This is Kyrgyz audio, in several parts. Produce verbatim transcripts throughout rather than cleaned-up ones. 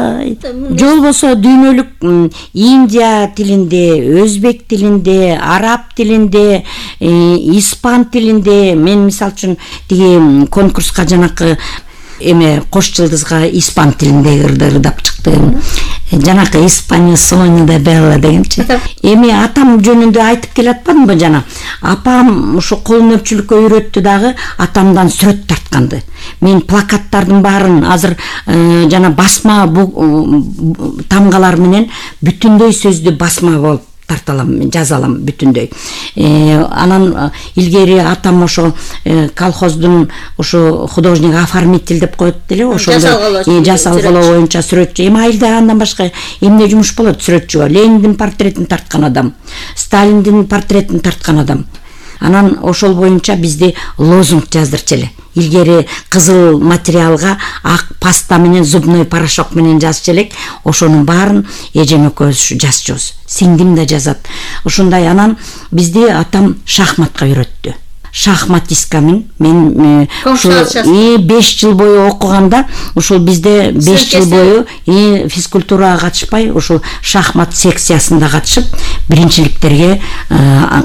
ой же болбосо дүйнөлүк Индия тилинде, өзбек тилинде, араб тилинде, испан тилинде. Мен мисалы үчүн тиги конкурска жанакы эме кош жылдызга испан тилинде ырдап чыктым. Жанакы Испания Соня да Белла дегенчи. Эми атам жөнүндө айтып келатпадымбы жана? Апам ушу кол өнөрчүлүккө үйрөттү дагы, атамдан сүрөт тартканды. Мен плакаттардын баарын азыр жана басма тамгалар менен бүтүндөй сөздү басма болуп тарталам, жазалам бүтүндөй. Анан илгери атам ошо колхоздун ошо художник оформитель деп коет деле, ошондо жасалгылоо боюнча сүрөтчү. Эми айылда андан башка эмне жумуш болот сүрөтчүгө? Лениндин портретин тарткан адам, Сталиндин портретин тарткан адам. Анан ошол боюнча бизде лозунг жаздырчу эле. Илгери кызыл материалга ак паста менен зубной порошок менен жазчу элек. Ошонун баарын эжем экөөбүз жазчубуз. Сиңдим да жазат. Ошондой. Анан бизди атам шахматка үйрөттү. Шахматисткамын. Мен беш жыл бою окуганда, ошол бизде беш жыл бою физкультурага катышпай, ошол шахмат секциясында катышып, биринчиликтерге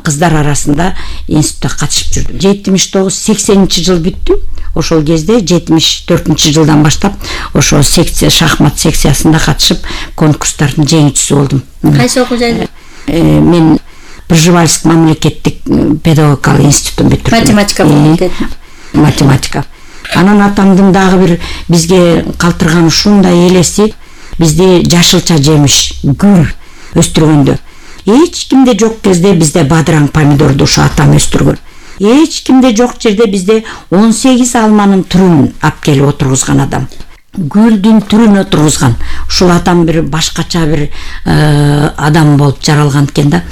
кыздар арасында институтта катышып жүрдүм. жетимиш тогуз сексенинчи жыл бүттү. Ошол кезде жетимиш төртүнчү жылдан баштап ошо секция шахмат секциясында катышып, конкурстардын жеңүүчүсү болдум. Кайсы окуу жайда? Мен Пржевальск мамлекеттик педагогикалык институтун бүтүрдүм. Математика факультети. Математика. Анан атамдын дагы бир бизге калтырган ушундай элеси, бизде жашылча жемиш, гүл өстүргөндө. Эч кимде жок кезде бизде бадыраң помидорду ушу атам өстүргөн. Эч кимде жок жерде бизде он сегиз алманын түрүн алып келип отургузган адам. Гүлдүн түрүн отургузган. Ушул атам бир башкача бир адам болуп жаралган экен да.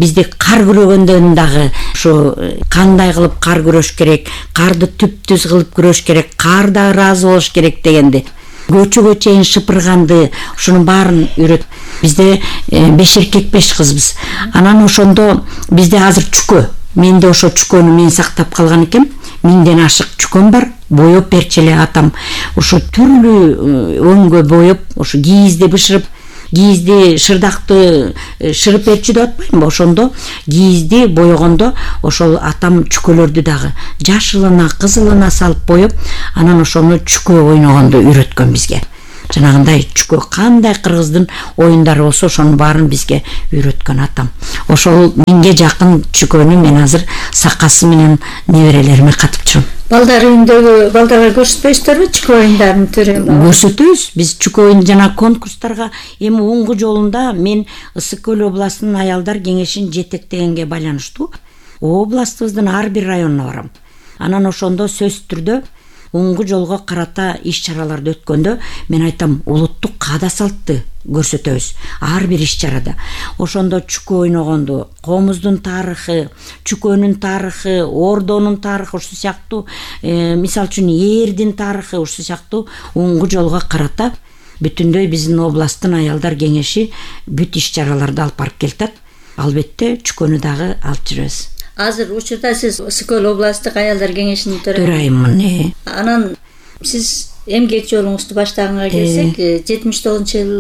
Бизде кар күрөгөндөн дагы ушу кандай кылып кар күрөш керек, карды түп-түз кылып күрөш керек, карда ыраазы болуш керек дегенди. Көчөгө чейин шыпырганды, ушунун баарын үйрөт. Бизде беш эркек беш кызбыз. Анан ошондо бизде азыр чүкө. Менде ошо чүкөнү мен сактап калган экем. Миңден ашык чүкөн бар. Боёп берчү эле атам. Ошо түрлүү өңгө боёп, ошо кийизди бышырып, кийизди шырдакты шырып берчү деп атпаймынбы? Ошондо кийизди боёгондо ошол атам чүкөлөрдү дагы жашылына, кызылына салып боёп, анан ошону чүкө ойногонду үйрөткөн бизге. Жанагындай чүкө кандай кыргыздын оюндары болсо ошонун баарын бизге үйрөткөн атам. Ошол миңге жакын чүкөнү мен азыр сакасы менен неберелериме катып жүрөм. Балдар үйүндөгү балдарга көрсөтпөйсүздарбы чүкө оюндарын түрүн? Көрсөтөбүз. Биз чүкө оюн жана конкурстарга эми Уңгу жолунда мен Ысык көл областынын аялдар кеңешин жетектегенге байланыштуу областыбыздын ар бир районуна барам. Анан ошондо сөзсүз түрдө Уңгу жолго карата иш-чараларды өткөндө мен айтам, улуттук каада салтты көрсөтөбүз ар бир иш-чарада. Ошондо чүкө ойногонду, комуздун тарыхы, чүкөнүн тарыхы, ордонун тарыхы, ушул сыяктуу, мисалы үчүн ээрдин тарыхы, ушул сыяктуу Уңгу жолго карата бүтүндөй биздин областтын аялдар кеңеши бүт иш-чараларды алып барып келатат. Албетте чүкөнү дагы алып жүрөбүз. Азыр учурда сиз Ысык көл областтык аялдар кеңешинин төрайыммын. Анан сиз эмгек жолуңузду баштаганга келсек, жетимиш тогузунчу жыл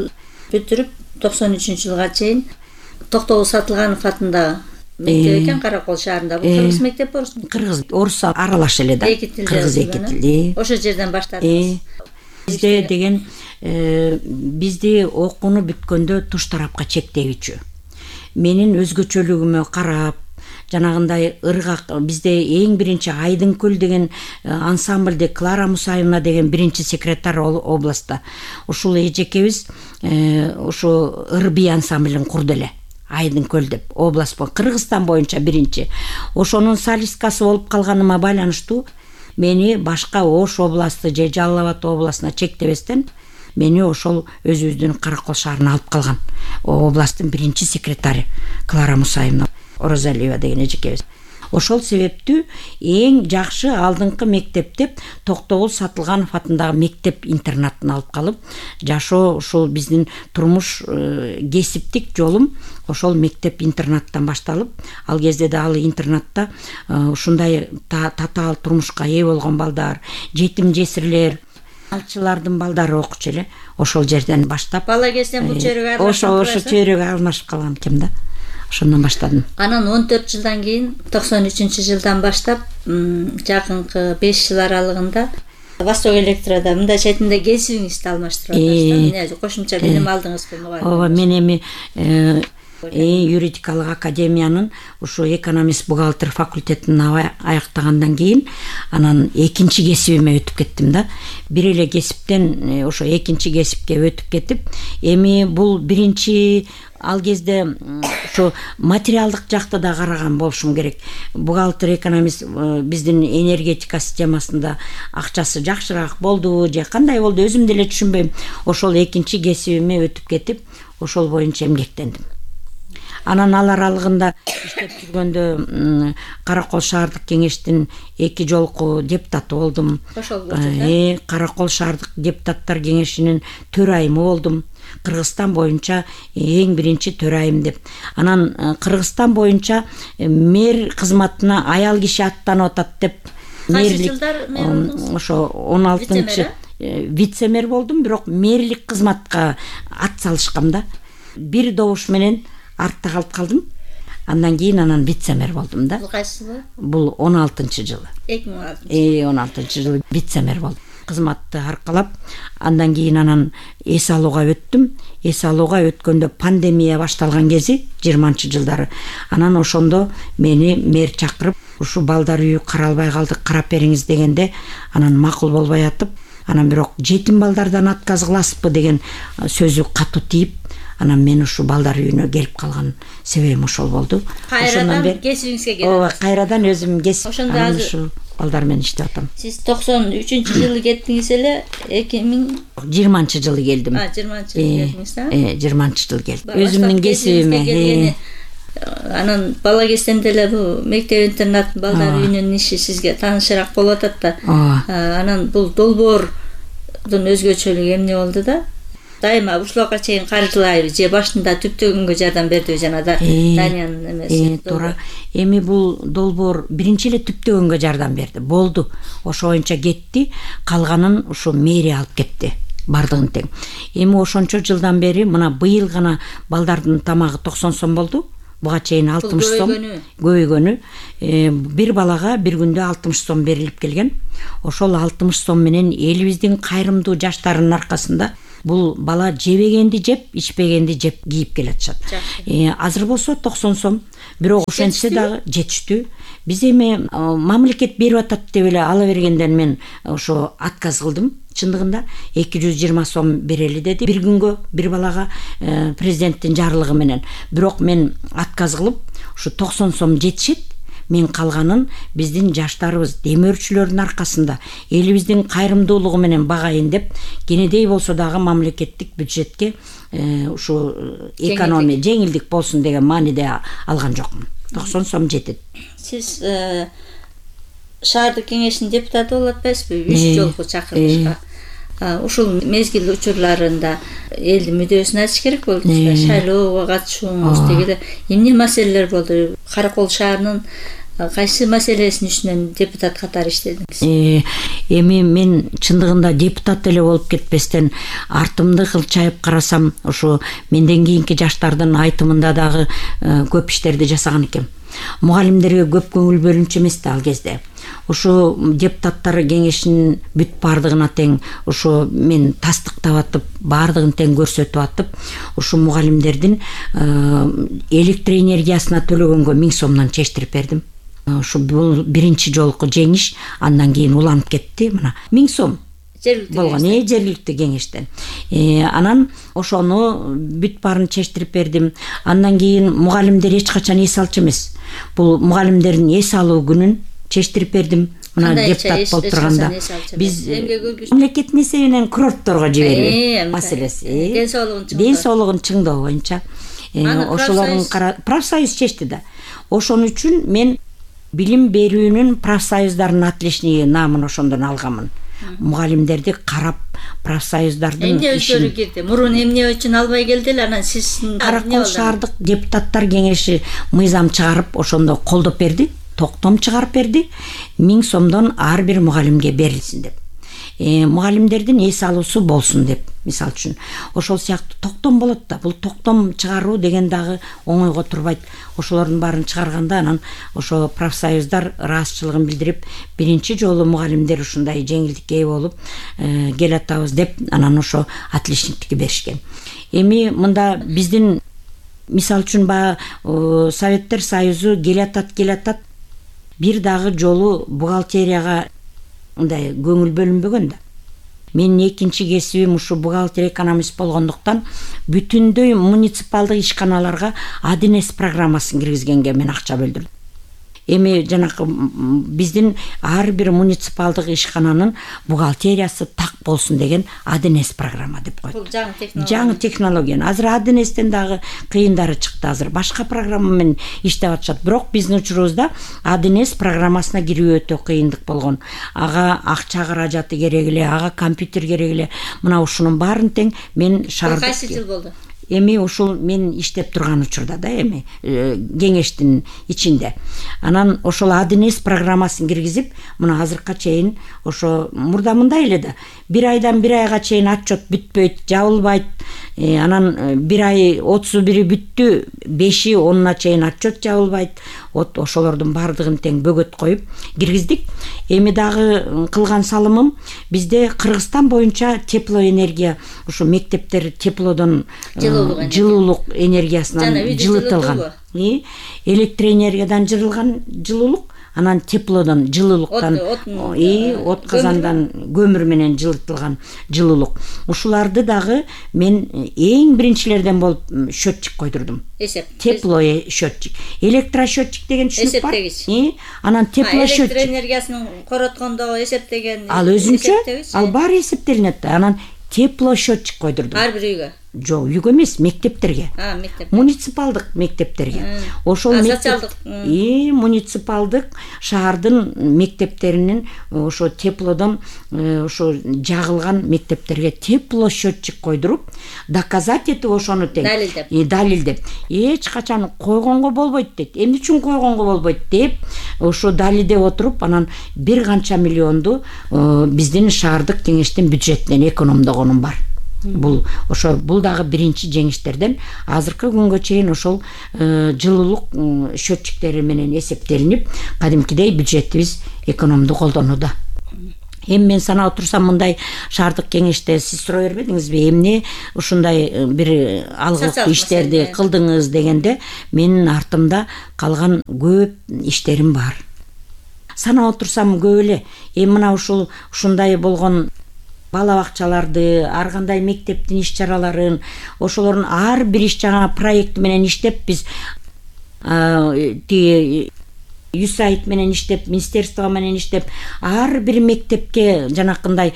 бүтүрүп токсон үчүнчү жылга чейин Токтогул Сатылганов атындагы мектеп экен, Каракол шаарында. Бул кыргыз мектеп орус? Кыргыз, орус аралаш эле да. Кыргыз эки тилди. Ошол жерден баштадыңыз. Бизде деген бизди окууну бүткөндө туш тарапка чектегичү. Менин өзгөчөлүгүмө карап, жанагындай ыргак, бизде эң биринчи Айдынкөл деген ансамблде Клара Мусаевна деген биринчи секретарь областта. Ушул эжекебиз ошо ырби ансамблин курду эле. Айдынкөл деп област бо Кыргызстан боюнча биринчи. Ошонун солисткасы болуп калганыма байланыштуу мени башка Ош областы же Жалал Абад областына чектебестен мени ошол өзүбүздүн Каракол шаарына алып калган. Областтын биринчи секретары Клара Мусаевна Оразалиева деген эжекебиз. Ошол себептүү эң жакшы алдыңкы мектеп деп Токтогул Сатылганов атындагы мектеп интернатын алып калып, жашоо ушул биздин турмуш кесиптик жолум ошол мектеп интернаттан башталып, ал кезде да ал интернатта ушундай татаал турмушка ээ болгон балдар, жетим жесирлер, Алчылардын балдары окучу эле. Ошол жерден баштап бала кезден бул чөйрөгө ошо ошо чөйрөгө алмашып калган экем да. Ошондон баштадым. Анан он төрт жылдан кийин токсон үчүнчү жылдан баштап жакынкы беш жыл аралыгында Восток Электрода мындай четинде кесибиңизди алмаштырып атасыз да. Эмне кошумча билим алдыңызбы мугалим? Ооба, мен эми юридикалык академиянын ушу экономист бухгалтер факультетин аяктагандан кийин анан экинчи кесибиме өтүп кеттим да. Бир эле кесиптен ошо экинчи кесипке өтүп кетип, эми бул биринчи ал кезде ошо материалдык жакта да караган болушум керек. Бухгалтер, экономист биздин энергетика системасында акчасы жакшыраак болду же кандай болду өзүм деле түшүнбөйм. Ошол экинчи кесибиме өтүп кетип, ошол боюнча эмгектендим. Анан ал аралыгында иштеп жүргөндө Каракол шаардык кеңештин эки жолку депутаты болдум. Ошол болчу. Каракол шаардык депутаттар кеңешинин төрайымы болдум. Кыргызстан боюнча эң биринчи төрайым деп. Анан Кыргызстан боюнча мэр кызматына аял киши аттанып атат деп. Мэрлик ошо он алтынчы вице-мэр болдум, бирок мэрлик кызматка ат салышкам да. Бир добуш менен артта калып калдым. Андан кийин анан вице-мэр болдум да. Бул кайсы жыл? Бул он алтынчы жылы. эки миң он алтынчы. Э, он алтынчы жылы вице-мэр болдум. Кызматты аркалап, андан кийин анан эс алууга өттүм. Эс алууга өткөндө пандемия башталган кези, жыйырманчы жылдары. Анан ошондо мени мэр чакырып, ушу балдар үйү каралбай калды, карап бериңиз дегенде, анан макул болбой атып, анан бирок жетим балдардан отказ кыласызбы деген сөзү катуу тийип, анан мен ушу балдар үйүнө келип калган себебим ошол болду. Кайрадан кесибиңизге келип. Ооба, кайрадан өзүм кесип. Ошондо азыр балдар менен иштеп атам. Сиз токсон үчүнчү жылы кеттиңиз эле, эки миң жыйырманчы жылы келдим. А, жыйырманчы жылы келдиңиз да? Э, жыйырманчы жылы келдим. Өзүмдүн кесибиме. Анан бала кезден деле бул мектеп интернат балдар үйүнүн иши сизге таанышыраак болуп атат да. Анан бул долбоордун өзгөчөлүгү эмне болду да? Дайыма ушуларга чейин каржылайбы же башында түптөгөнгө жардам бердиби жана да Даниянын эмеси. Туура. Эми бул долбоор биринчи эле түптөгөнгө жардам берди. Болду. Ошо боюнча кетти, калганын ушу мэрия алып кетти. Бардыгын тең. Эми ошончо жылдан бери мына быйыл гана балдардын тамагы токсон сом болду. Буга чейин алтымыш сом көбөйгөнү. Бир балага бир күндө алтымыш сом берилип келген. Ошол алтымыш сом менен элибиздин кайрымдуу жаштарынын аркасында бул бала жебегенди жеп, ичпегенди жеп кийип келатышат. Азыр болсо токсон сом, бирок ошентсе дагы жетиштүү. Биз эми мамлекет берип атат деп эле ала бергенден мен ошо отказ кылдым. Чындыгында эки жүз жыйырма сом берели деди бир күнгө бир балага президенттин жарлыгы менен. Бирок мен отказ кылып, ушу токсон сом жетишет. Мен калганын биздин жаштарыбыз, демөөрчүлөрдүн аркасында элибиздин кайрымдуулугу менен багайын деп, кенедей болсо дагы мамлекеттик бюджетке ушу экономия жеңилдик болсун деген мааниде алган жокмун. токсон сом жетет. Сиз шаардык кеңештин депутаты болуп атпайсызбы? үч жолку чакырылышка. Ушул мезгил учурларында элдин мүдөөсүн айтыш керек болду. Шайлоого катышууңуз дегеле эмне маселелер болду? Каракол шаарынын кайсы маселесин үстүнөн депутат катары иштедиңиз? Эми мен чындыгында депутат эле болуп кетпестен артымды кылчайып карасам, ошо менден кийинки жаштардын айтымында дагы көп иштерди жасаган экем. Мугалимдерге көп көңүл бөлүнчү эмес да ал кезде. Ошо депутаттар кеңешинин бүт бардыгына тең ошо мен тастыктап атып, бардыгын тең көрсөтүп атып, ошо мугалимдердин электр энергиясына төлөгөнгө миң сомдон чечтирип бердим. Ошо бул биринчи жолку жеңиш, андан кийин уланып кетти. Мына миң сом болгон э жергиликтүү кеңештен. Анан ошону бүт баарын чечтирип бердим. Андан кийин мугалимдер эч качан эс алчу эмес. Бул мугалимдердин эс алуу күнүн чечтирип бердим. Мына депутат болуп турганда биз мамлекеттин эсебинен курортторго жиберүү маселеси. Ден соолугун чыңдоо боюнча ошолордун профсоюз чечти да. Ошон үчүн мен билим берүүнүн профсоюздардын отличниги наамын ошондон алганмын. Мугалимдерди карап, профсоюздардын эмне өзгөрүү кирди? Мурун эмне үчүн албай келди эле, анан сиз Каракол шаардык депутаттар кеңеши мыйзам чыгарып, ошондо колдоп берди, токтом чыгарып берди. миң сомдон ар бир мугалимге берилсин деп. мугалимдердин эс алуусу болсун деп, мисалы үчүн ошол сыяктуу токтом болот да. Бул токтом чыгаруу деген дагы оңойго турбайт. Ошолордун баарын чыгарганда анан ошо профсоюздар ыраазычылыгын билдирип, биринчи жолу мугалимдер ушундай жеңилдикке ээ болуп келатабыз деп анан ошо отличниктикти беришкен. Эми мында биздин мисалы үчүн баягы Советтер Союзу келатат келатат бир дагы жолу бухгалтерияга мындай көңүл бөлүнбөгөн да. Менин экинчи кесибим ушу бухгалтер экономист болгондуктан бүтүндөй муниципалдык ишканаларга один эс программасын киргизгенге мен акча бөлдүрдүм. Эми жанакы биздин ар бир муниципалдык ишкананын бухгалтериясы так болсун деген один эс программа деп койду. Бул жаңы технология. Жаңы технология. Азыр один эстен дагы кыйындары чыкты. Азыр башка программа менен иштеп атышат. Бирок биздин учурубузда один эс программасына кирүү өтө кыйындык болгон. Ага акча каражаты керек эле, ага компьютер керек эле. Мына ушунун баарын тең мен шаардык. Кайсы жыл болду? Эми ушул мен иштеп турган учурда да, эми кеңештин ичинде. Анан ошол один эс программасын киргизип, мына азыркка чейин ошо мурда мындай эле да. Бир айдан бир айга чейин отчет бүтпөйт, жабылбайт. Анан бир ай отуз бири бүттү, беши онуна чейин отчет жабылбайт. Вот ошолордун баардыгын тең бөгөт коюп киргиздик. Эми дагы кылган салымым бизде Кыргызстан боюнча теплоэнергия, ушу мектептер теплодон жылуулук энергиясынан жылытылган. Электроэнергиядан жылылган жылуулук, анан теплодон жылуулуктан, и от казандан көмүр менен жылытылган жылуулук. Ушуларды дагы мен эң биринчилерден болуп счетчик койдурдум. Эсеп. Тепло счетчик. Электросчетчик деген түшүнүк бар. Эсептегич. Анан тепло счетчик. Электроэнергиясын короткондо эсептеген. Ал өзүнчө, ал баары эсептелинет да. Анан тепло счетчик койдурдум. Ар бир үйгө. Жок, үйгө эмес, мектептерге. А, мектеп. Муниципалдык мектептерге. Ошол мектеп и муниципалдык шаардын мектептеринин ошо теплодон ошо жагылган мектептерге тепло счетчик койдуруп, доказать этип ошону тең далилдеп. И далилдеп. Эч качан койгонго болбойт дейт. Эмне үчүн койгонго болбойт деп, ошо далилдеп отуруп, анан бир канча миллионду биздин шаардык кеңештин бюджетинен экономдогонум бар. Бул ошо бул дагы биринчи жеңиштерден. Азыркы күнгө чейин ошол жылуулук счетчиктери менен эсептелинип, кадимкидей бюджетибиз экономду колдонууда. Эми мен санап отурсам, мындай шаардык кеңеште сиз суроо бербедиңизби, эмне ушундай бир алгылык иштерди кылдыңыз дегенде, менин артымда калган көп иштерим бар. Санап отурсам көп эле. Эми мына ушул ушундай болгон бала бакчаларды, ар кандай мектептин иш чараларын, ошолордун ар бир иш жаңа проект менен иштеп, биз тиги юсайт менен иштеп, министерство менен иштеп, ар бир мектепке жанакындай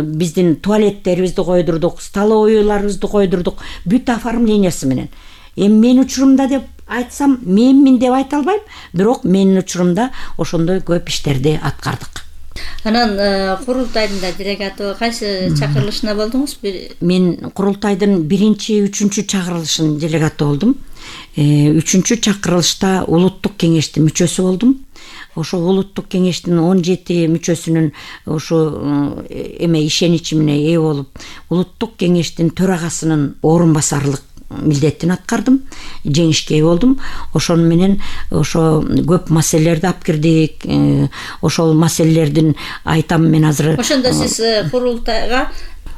биздин туалеттерибизди койдурдук, столовойларыбызды койдурдук, бүт оформлениясы менен. Эми менин учурумда деп айтсам, менмин деп айта албайм, бирок менин учурумда ошондой көп иштерди аткардык. Анан курултайдын да делегаты кайсы чакырылышына болдуңуз? Мен курултайдын биринчи, үчүнчү чакырылышынын делегаты болдум. Үчүнчү чакырылышта улуттук кеңештин мүчөсү болдум. Ошо улуттук кеңештин он жети мүчөсүнүн ошо эме ишеничи менен ээ болуп, улуттук кеңештин төрагасынын орун басарлык милдетин аткардым, жеңишке ээ болдум. Ошону менен ошо көп маселелерди алып кирдик. Ошол маселелердин айтам мен азыр. Ошондо сиз курултайга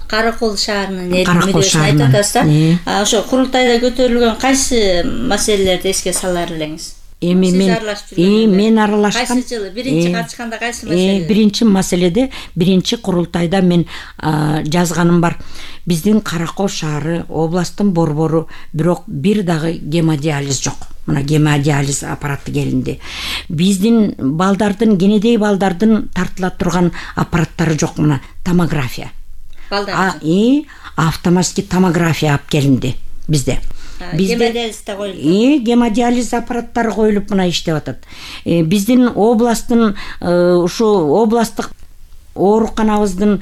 Каракол шаарынын мүчөсүн айтып атасыз да. Ошо курултайда көтөрүлгөн кайсы маселелерди эске салар элеңиз? Эми мен и мен аралашкан. Кайсы жылы биринчи катышканда кайсы маселе? Биринчи маселеде, биринчи курултайда мен жазганым бар. Биздин Каракол шаары областтын борбору, бирок бир дагы гемодиализ жок. Мына гемодиализ аппараты келинди. Биздин балдардын, кенедей балдардын тартыла турган аппараттары жок, мына томография. Балдар. И автоматический томография алып келинди бизде. Гемодиализ да коюлду. И гемодиализ аппараттары коюлуп мына иштеп атат. Биздин областтын ушу областтык ооруканабыздын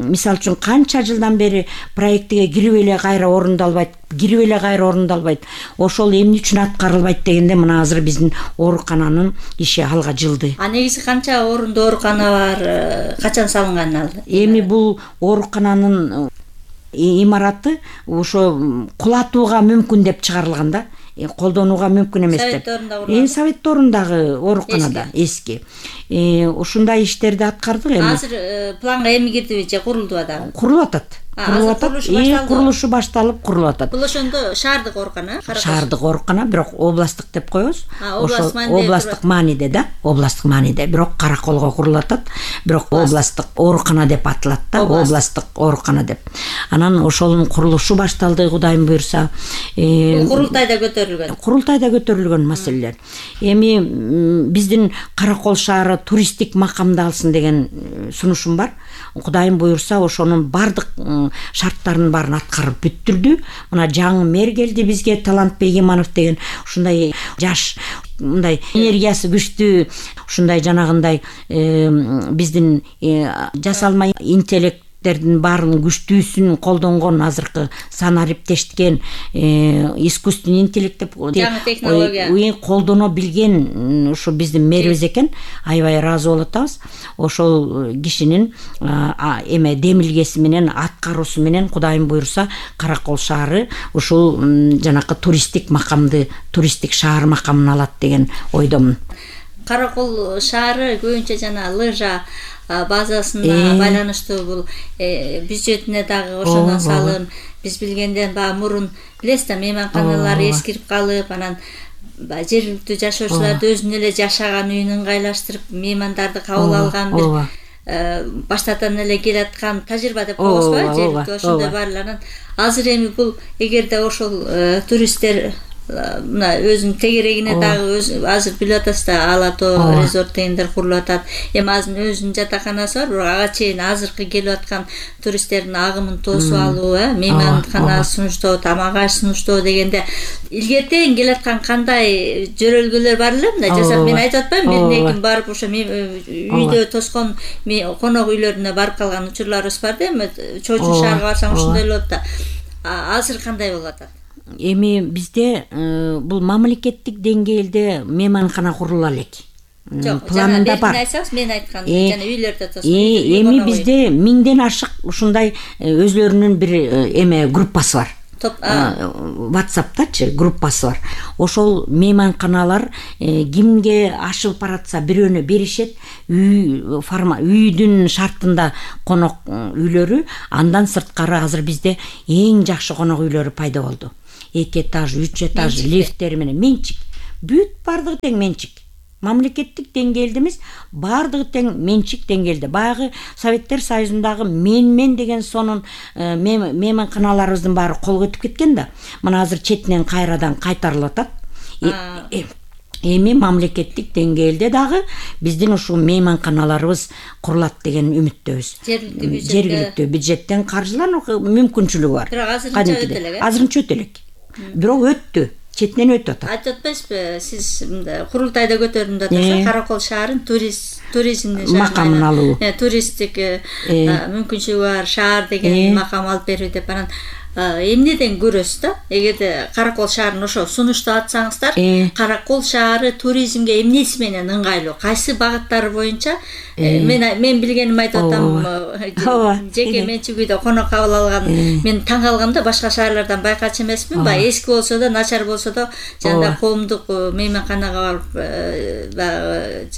мисалы үчүн канча жылдан бери проектиге кирип эле кайра орундалбайт, кирип эле кайра орундалбайт, ошол эмне үчүн аткарылбайт дегенде мына азыр биздин оорукананын иши алга жылды. А негизи канча орунду оорукана бар, качан салынган ал? Эми бул оорукананын имараты ошо кулатууга мүмкүн деп чыгарылган да, колдонууга мүмкүн эмес деп. Эми Советторундагы ооруканада эски. Ушундай иштерди аткардык эми. Азыр планга эми кирдиби же курулдуба дагы? Курулуп атат. Курулуп атат. Курулушу башталып курулуп атат. Бул ошондо шаардык оорукана? Шаардык оорукана, бирок областтык деп коебуз. Ошол областтык мааниде да, областтык мааниде, бирок Караколго курулуп атат. Бирок областтык оорукана деп аталат да, областтык оорукана деп. Анан ошонун курулушу башталды, Кудайым буйрса. Курултайда көтөрүлгөн. Курултайда көтөрүлгөн маселелер. Эми биздин Каракол шаары туристтик макамды алсын деген сунушум бар. Кудайым буйрса ошонун бардык шарттарын баарын аткарып бүттүрдү. Мына жаңы мэр келди бизге, Талантбек Иманов деген, ушундай жаш, мындай энергиясы күчтүү, ушундай жанагындай биздин жасалма интеллект баарын күчтүүсүн колдонгон, азыркы санариптешткен искусственный интеллект деп жаңы технология колдоно билген ушу биздин мэрибиз экен. Аябай ыраазы болуп атабыз. Ошол кишинин эме демилгеси менен, аткаруусу менен Кудайым буйрса Каракол шаары ушул жанакы туристтик макамды, туристтик шаар макамын алат деген ойдомун. Каракол шаары көбүнчө жана лыжа базасына байланыштуу, бул бюджетине дагы ошондон салым. Биз билгенден баягы мурун билесиз да, мейманканалар эскирип калып, анан жергиликтүү жашоочуларды өзүнүн эле жашаган үйүнө ыңгайлаштырып, меймандарды кабыл алган бир баштардан эле келаткан тажрыйба деп коебузбу, жергиликтүү ошондой баарларын. Азыр эми бул эгерде ошол туристтер мына өзүнүн тегерегине дагы азыр билип атасыз да, Ала Тоо резорт дегендер курулуп атат. Эми азыр өзүнүн жатаканасы бар, бирок ага чейин азыркы келип аткан туристтердин агымын тосуп алуу, мейманкана сунуштоо, тамак аш сунуштоо дегенде илгертен келаткан кандай жөрөлгөлөр бар эле, мындай жасап мен айтып атпайм, бирин экин барып ошо үйдө тоскон конок үйлөрүнө барып калган учурларыбыз бар да, эми Чоочун шаарга барсаң ошондой болот да. Азыр кандай болуп атат? Эми бизде бул мамлекеттик деңгээлде мейманкана курулула элек. Планында бар. Мен айткан жана үйлөрдө тоскон. Эми бизде миңден ашык ушундай өзлөрүнүн бир эме группасы бар. WhatsApp'тачы группасы бар. Ошол мейманканалар кимге ашып баратса бирөөнө беришет, үй форма үйдүн шартында конок үйлөрү. Андан сырткары азыр бизде эң жакшы конок үйлөрү пайда болду. эки этаж, үч этаж лифттери менен менчик. Бүт бардыгы тең менчик. Мамлекеттик деңгээлде эмес, бардыгы тең менчик деңгээлде. Баягы Советтер Союзундагы мен-мен деген сонун мейманканаларыбыздын баары колго өтүп кеткен да. Мына азыр четинен кайрадан кайтарылып атат. Эми мамлекеттик деңгээлде дагы биздин ушул мейманканаларыбыз курулат деген үмүттөбүз. Жергиликтүү бюджеттен каржылануу мүмкүнчүлүгү бар. Азырынча өтө элек. Бирок өттү. Четинен өтүп атат. Айтып атпайсызбы, сиз курултайда көтөрдүм деп атасыз, Каракол шаарын туризмдин макамын алуу. Туристтик мүмкүнчүлүгү бар шаар деген макам алып берүү деп. Анан эмнеден көрөсүз да? Эгерде Каракол шаарын ошо сунуштап атсаңыздар, Каракол шаары туризмге эмнеси менен ыңгайлуу? Кайсы багыттары боюнча? Мен мен билгенимди айтып атам. Жеке менчик үйдө конок кабыл алган. Мен таң калгам да, башка шаарлардан байкачу эмесмин. Бай эски болсо да, начар болсо да, жана коомдук мейманканага барып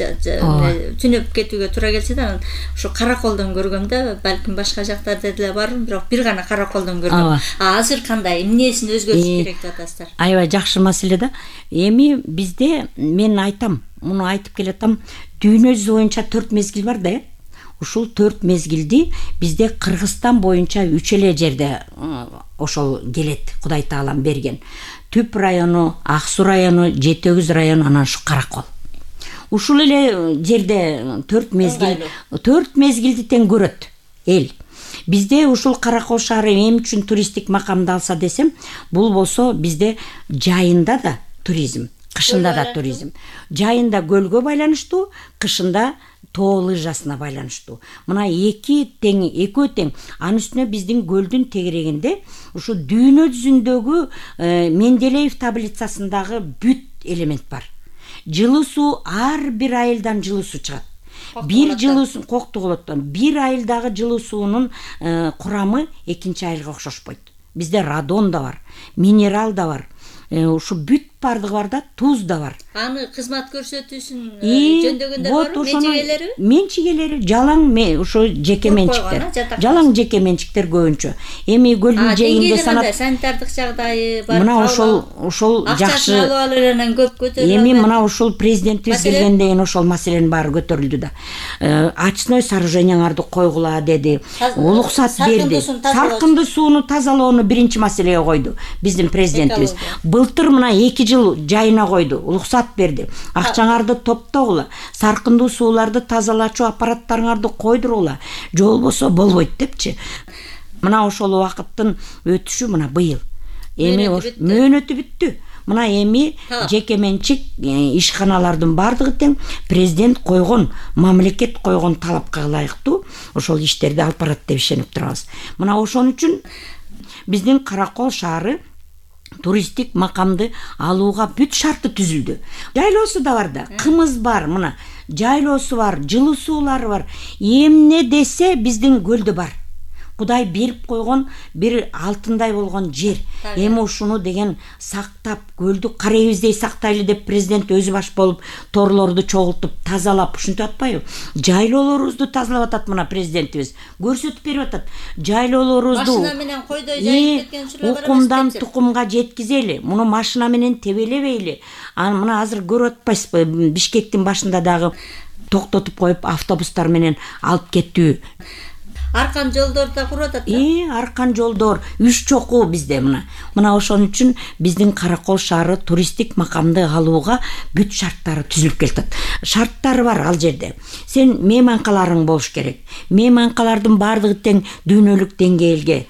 түнөп кетүүгө туура келсе да, ошо Караколдон көргөмдө, балким башка жактарда деле бар, бирок бир гана Караколдон көргөм. Азыр кандай, эмнесин өзгөртүш керек деп атасыздар? Аябай жакшы маселе да. Эми бизде мен айтам, муну айтып келатам, дүйнө жүзү боюнча төрт мезгил бар да. Ушул төрт мезгилди бизде Кыргызстан боюнча үч эле жерде ошол келет, Кудай Таалам берген. Түп району, Ак Суу району, Жети Өгүз району, анан ушу Каракол. Ушул эле жерде төрт мезгил, төрт мезгилди тең көрөт эл. Бизде ушул Каракол шаары эмне үчүн туристтик макамды алса десем, бул болсо бизде жайында да туризм, Кышында да туризм. Жайында көлгө байланыштуу, кышында тоо лыжасына байланыштуу. Мына эки тең, экөө тең. Анын үстүнө биздин көлдүн тегерегинде ушу дүйнө жүзүндөгү Менделеев таблицасындагы бүт элемент бар. Жылуу суу, ар бир айылдан жылуу суу чыгат. Бир жылуу суу коктуголоттон бир айылдагы жылуу суунун курамы экинчи айылга окшошпойт. Бизде радон да бар, минерал да бар. Ушу бүт бардыгы бар да, туз да бар. Аны кызмат көрсөтүүсүн жөндөгөндөр барбы? Менчигелери? Менчигелери жалаң ушу жеке менчиктер. Жалаң жеке менчиктер көбүнчө. Эми көлдүн жээгинде санат санитардык жагдайы бар. Мына ошол ошол жакшы. Акчасын көп көтөрүлөт. Эми мына ошол президентибиз келгенден кийин ошол маселенин баары көтөрүлдү да. Очной сооруженияларды койгула деди. Улуксат берди. Саркынды сууну тазалоону биринчи маселеге койду биздин президентибиз. Былтыр мына эки жыл жайына койду, улуксат берди. Акчаңарды топтогула, саркындуу сууларды тазалачу аппараттарыңарды койдурула, же болбосо болбойт депчи. Мына ошол убакыттын өтүшү мына быйыл. Эми мөөнөтү бүттү. Мына эми жеке менчик ишканалардын бардыгы тең президент койгон, мамлекет койгон талапка ылайыктуу ошол иштерди алып барат деп ишенип турабыз. Мына ошон үчүн биздин Каракол шаары туристтик макамды алууга бүт шарты түзүлдү. Жайлоосу да бар да, кымыз бар, мына жайлоосу бар, жылуу суулары бар. Эмне десе биздин көлдө бар. Кудай берип койгон бир алтындай болгон жер. Эми ушуну деген сактап, көлдү карайбиздей сактайлы деп президент өзү баш болуп торлорду чогултуп, тазалап, ушинтип атпайбы? Жайлоолорубузду тазалап атат мына президентибиз. Көрсөтүп берип атат. Жайлоолорубузду машина менен койдой жайып кеткен учурлар бар. Укумдан тукумга жеткизели, муну машина менен тебелебейли. Аны мына азыр көрүп атпайсызбы? Бишкектин башында дагы токтотуп коюп автобустар менен алып кеттүү. Аркан жолдор да куруп атат. Э, аркан жолдор, үч чокуу bizde мына. Мына ошон үчүн биздин Каракол шаары туристтик макамды алууга бүт шарттары түзүлүп келатат. Шарттары бар ал жерде. Сен мейманкаларың болуш керек. Мейманкалардын бардыгы тең дүйнөлүк деңгээлге,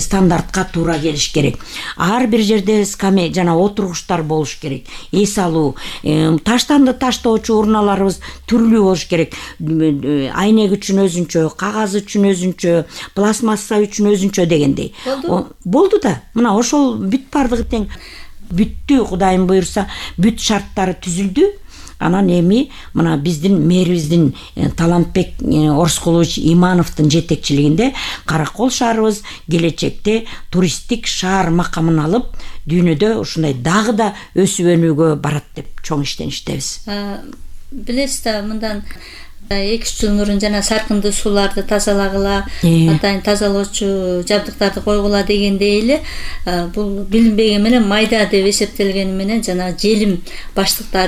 стандартка туура келиш керек. Ар бир жерде скаме жана отургучтар болуш керек. Эс алуу, таштанды таштоочу урналарыбыз түрлүү болуш керек. Айнек үчүн өзүнчө, кагаз үчүн өзүнчө, пластмасса үчүн өзүнчө дегендей. Болду да. Мына ошол бүт бардыгы тең бүттү, Кудайым буйрса, бүт шарттары түзүлдү. Анан эми мына биздин мэрибиздин Талантбек Орскулович Имановдун жетекчилигинде Каракол шаарыбыз келечекте туристтик шаар макамын алып, дүйнөдө ушундай дагы да өсүп өнүүгө барат деп чоң иштеништебиз. Билесиз да, мындан эки үч жыл мурун жана саркынды сууларды тазалагыла, атайын тазалоочу жабдыктарды койгула дегендей эле, бул билинбеген менен майда деп эсептелгени менен жана желим баштыктарды